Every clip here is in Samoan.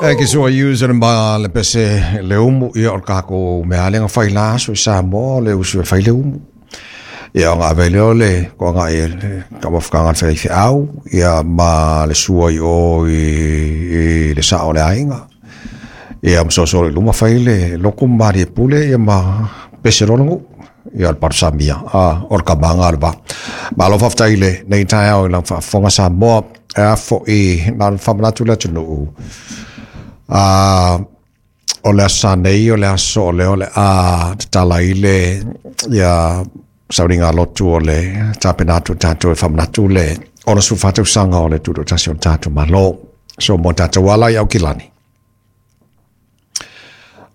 E ke sua use le ma le pese le umu ia o le kākou mea le fai la aso i Samoa le usu e fai le umu. Ia o ngā vele o le ko ngā e ka mafukanga le whai au ia ma le sua i o i le sa o le ainga. Ia ma so le luma fai le loko mari e pule ia ma pese rongu ia le parusamia a o le kamanga le va. Ma lo faftai le nei tai au i lang whaafonga Samoa e a fo i nā whamanatu le atunuu. O le asa nei, o le aso o le o le a tatala i le ia sauringa lotu o le tapenatu tātou e whamanatu le ona su whatau sanga o le tūro tasi o tātou malo. So mo tātou ala i au kilani.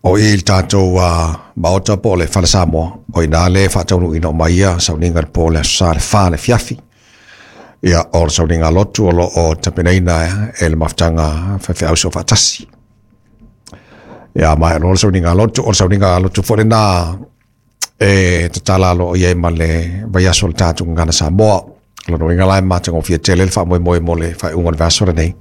O i le tātou maota po o le whale Samoa, o i nā le whataunu ina o mai ia sauninga le po le aso sa le wha le fiafi. Ia o le sauninga lotu o lo o tapenaina e le mafutanga whawheau so whatasi. Ia mai o le sauninga lotu, o le sauninga lotu fo le nā e tatala lo ia ma le vaiaso le tātou ngana Samoa. Lono inga lai mātanga o fia tele le wha moe moe mo le whai unga le vaso le nei.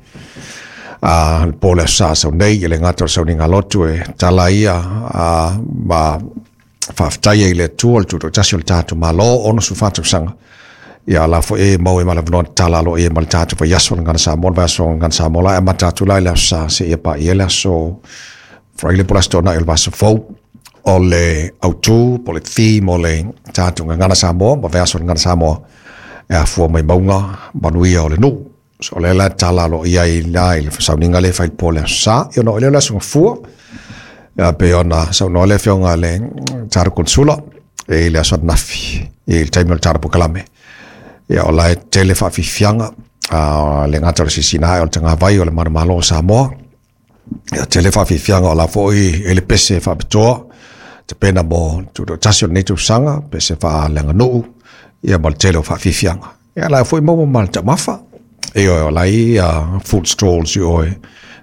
Le po le sa sau nei, e le ngata o le sauninga lotu e tala ia ma whaaftaia i le tua le tūto tasi o le tātou malo ono su whātau sanga. Ia la fo e mau e mala tala lo e ma le tātou vaiaso le ngana Samoa, le vaiaso ngana Samoa la e matatu lai le aso sa se ia pa ia le aso Fraile po le na i le vaso fou o le autu, po le theme o le tātou ngana Samoa, ma vaiaso le ngana Samoa e afua mai maunga, manuia o le nuu. So le la tala lo ia i la i le sauninga le fai po le sa, ia no le la sunga fua, ia pe ona sau no le fionga le tara konsula, e le aso nafi, i le taimi o le tara pokalame. Ia o la e tele whaafifianga, le ngata o le sisina o le tanga vai o le manamalo o Samoa. Ia tele whaafifianga o la foi e le pese whaapitoa, te pena mo tūro tasi o le neitu sanga, pese wha le nganuu, ia ma le tele o whaafifianga. Ia la foi momo ma le tamafa, e o la i food stalls i oe,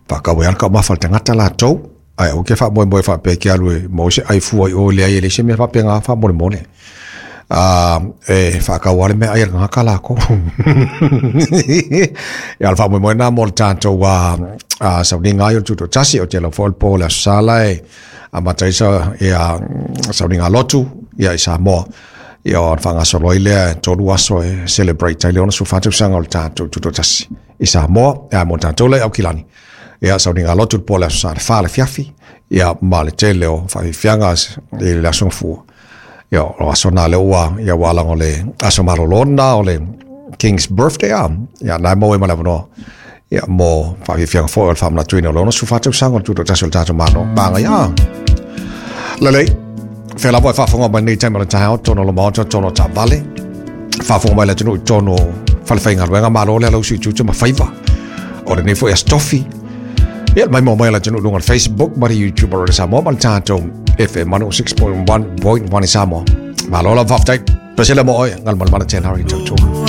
whakawe alka mafa le tangata la tau, ai o ke wha moe moe wha pe ke alu e mo se ai fua i o le ai e le se mea wha pe ngā wha mole mole. E whakau ale mea ai ngā ka lako. Ia le wha moe moe nā mo le tātou sauninga ai o le tūto tasi o te lau fo le po le aso sala e a mataisa ia sauninga lotu ia i Samoa. Ia o whangasoloi lea tolu aso e celebrate ai le ona su whātau sanga o le tātou tūto tasi i Samoa ia mo tātou le au kilani. Ia sauninga lotu le po le aso sa le wha le fiafi ia ma le tele o whawhiwhianga i le aso fua. Ia o aso nā le ua ia walango le aso marolona o le King's Birthday a ia nai mo e malavonoa. Ia mo whawhiwhianga fo o le whamanatuina o le ona su whātau sanga o le tūto tasi o le tātou mano. Pānga ia. Lelei, whea lava e whaafonga mai nei taima le taeao, tono lo maota, tono ta vale. Whaafonga mai le atunu i tono whalewhainga luenga malo le alau sui tutu ma whaiva. O le nei fo e astofi. Ia mai mo mai le atunu lunga le Facebook, ma le YouTube o le Samoa, ma le tātou FM 106.1.1 i Samoa. Malo la whaftai, pasela mo oe, ngal malmana tēnā hari tautua.